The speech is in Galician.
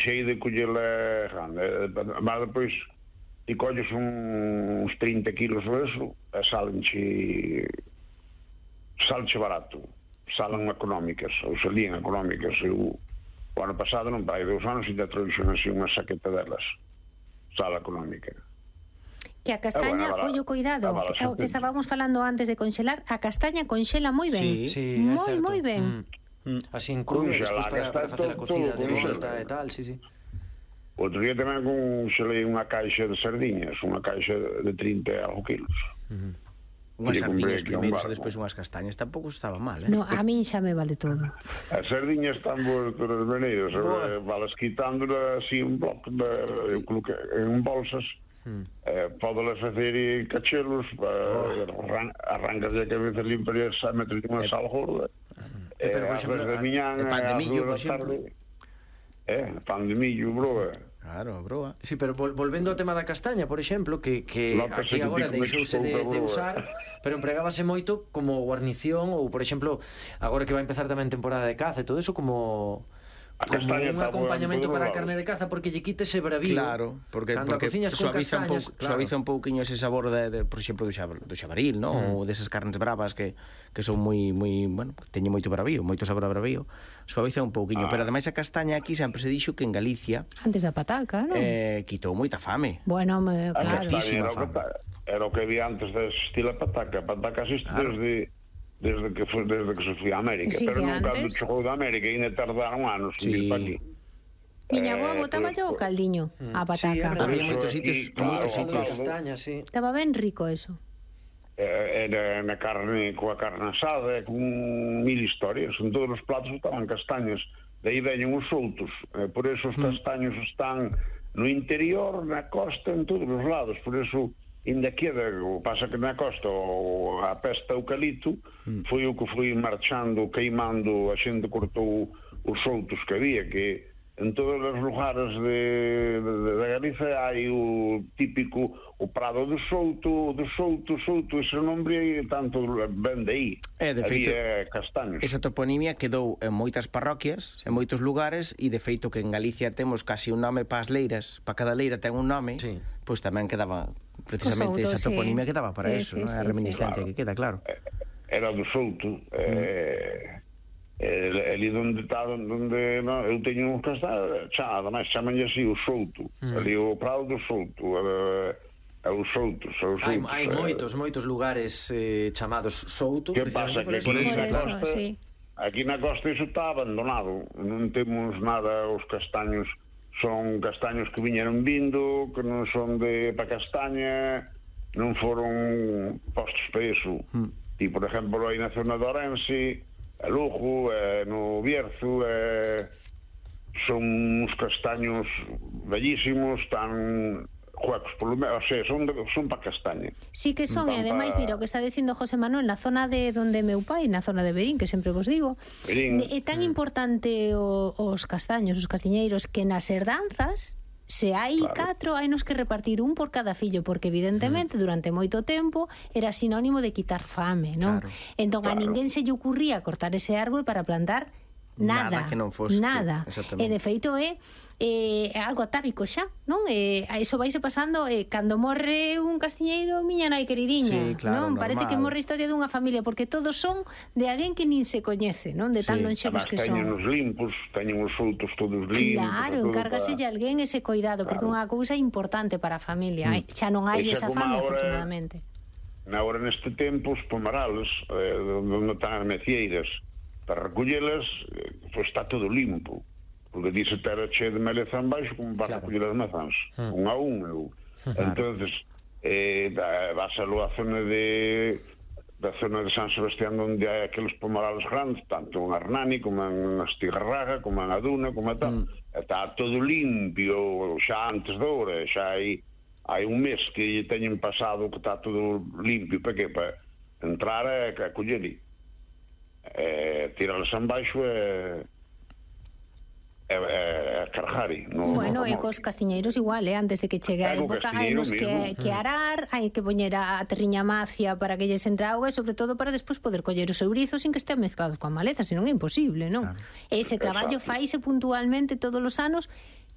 chei de collela grande. Mas depois ti colles uns 30 kilos ou eso e salenche barato, salen económicas ou salían económicas. O ano pasado non vai 2 anos e ainda trouxen así unha saqueta delas, sala económica. Que a castaña, ollo, cuidado, que estábamos falando antes de conxelar, a castaña conxela moi ben. Sí, moi ben. Así en crudo, despois para facer a cocida de volta e tal, sí. Outro día tamén conxelei unha caixa de sardiñas, unha caixa de 30 e algo kilos. Unhas sardiñas primeiro e despois unhas castañas tampouco estaba mal, No, a min xa me vale todo. As sardiñas están boas todas as maneiras, valas quitándolas así un bloque en bolsas, podelas facer cachelos, arrancas a cabeza limpa e metes unha sal gorda, as de miñán, pan de millo, por exemplo. Pan de millo, broa. Claro, broa. Sí, pero volvendo ao tema da castaña, por exemplo, que aquí agora deixouse de usar, pero empregábase moito como guarnición ou, por exemplo, agora que vai empezar tamén temporada de caza e todo eso, como un acompañamento para a carne de caza, porque lle quite ese bravío. Claro, porque suaviza un pouquiño ese sabor por exemplo, do xabaril, ou desas carnes bravas que son moi, bueno, teñen moito bravío, moito sabor a bravío. Suaviza un pouquiño, pero ademais a castaña aquí sempre se dixo que en Galicia antes da pataca, non? Quitou moita fame. Bueno, claro. Era o que había antes de existir a pataca. A pataca existe desde que se foi a América, sí, pero non cando chegou da América ainda tardaron anos en vir para aquí. Miña boa botaba yo o caldiño a pataca. Había moitos sitios castaña, sí. Estaba ben rico eso. Era na carne, coa carne asada, con 1000 historias. En todos os platos estaban castañas. De aí veñen os soltos. Por eso os castaños están no interior, na costa, en todos os lados. Por eso, ainda queda, pasa que na costa a pesta eucalipto foi o que foi marchando, queimando, a xente cortou os soltos que había, que en todos os lugares de Galicia hai o típico, o prado do solto, ese nombre tanto ben de aí. De feito, había castaños. Esa toponimia quedou en moitas parroquias, en moitos lugares, e de feito que en Galicia temos casi un nome para as leiras, para cada leira ten un nome, pois tamén quedaba, precisamente esa toponimia quedaba para eso, a reminiscencia que queda, claro. Era do solto, ali onde está, eu teño uns castaños, ademais chamanlle así o solto, ali o prado do solto, os soltos. Hai moitos lugares chamados solto. Que pasa que aquí na costa, aquí na costa iso está abandonado, non temos nada, os castaños son castaños que viñeron vindo, que non son para castaña, non foron postos para iso. E, por exemplo, aí na zona de Ourense, a Lugo, no Bierzo, son uns castaños bellísimos, tan juegos, polo menos, o sea, son para castaña. Sí que son, e ademais, mira, o que está dicindo José Manuel, na zona de donde meu pai, na zona de Berín, que sempre vos digo, é tan importante os castaños, os castiñeiros, que nas herdanzas, se hai 4, hai nos que repartir un por cada fillo, porque evidentemente durante moito tempo era sinónimo de quitar fame, non? Entón a ninguén se lle ocurría cortar ese árbol para plantar nada, que non fose, nada. E de feito é algo atávico xa, non? Iso vaise pasando, cando morre un castiñeiro, miña nai queridiña, non? Parece que morre a historia dunha familia, porque todos son de alguén que nin se coñece, non? De tan lonxevos que son. Teñen os limpos, teñen os soltos todos limpos. Claro, encárgase de alguén ese cuidado, porque é unha cousa importante para a familia. Xa non hai esa fame, afortunadamente. Agora neste tempo, os pomarales, onde están as mecieiras, para recollelas, pois está todo limpo. Porque dice terra chea de maleza baixo como para recoller as mazás, un a un. Entonces vas a a zona de San Sebastián, onde hai aqueles pomarales grandes, tanto en Hernani como en Astigarraga, como en Aduna, como tal, está todo limpio xa antes da hora, xa hai un mes que teñen pasado que está todo limpio, para que? Para entrar a coller tiralas en baixo cargar. Bueno, e cos castiñeiros igual, antes de que chegue a época hai nos que arar, hai que poñer a terriña macia para que lles entre auga, e sobre todo para despois poder coller os eurizos sin que estea mezclado coa maleza, senón é imposible, non? Ese traballo faise puntualmente todos os anos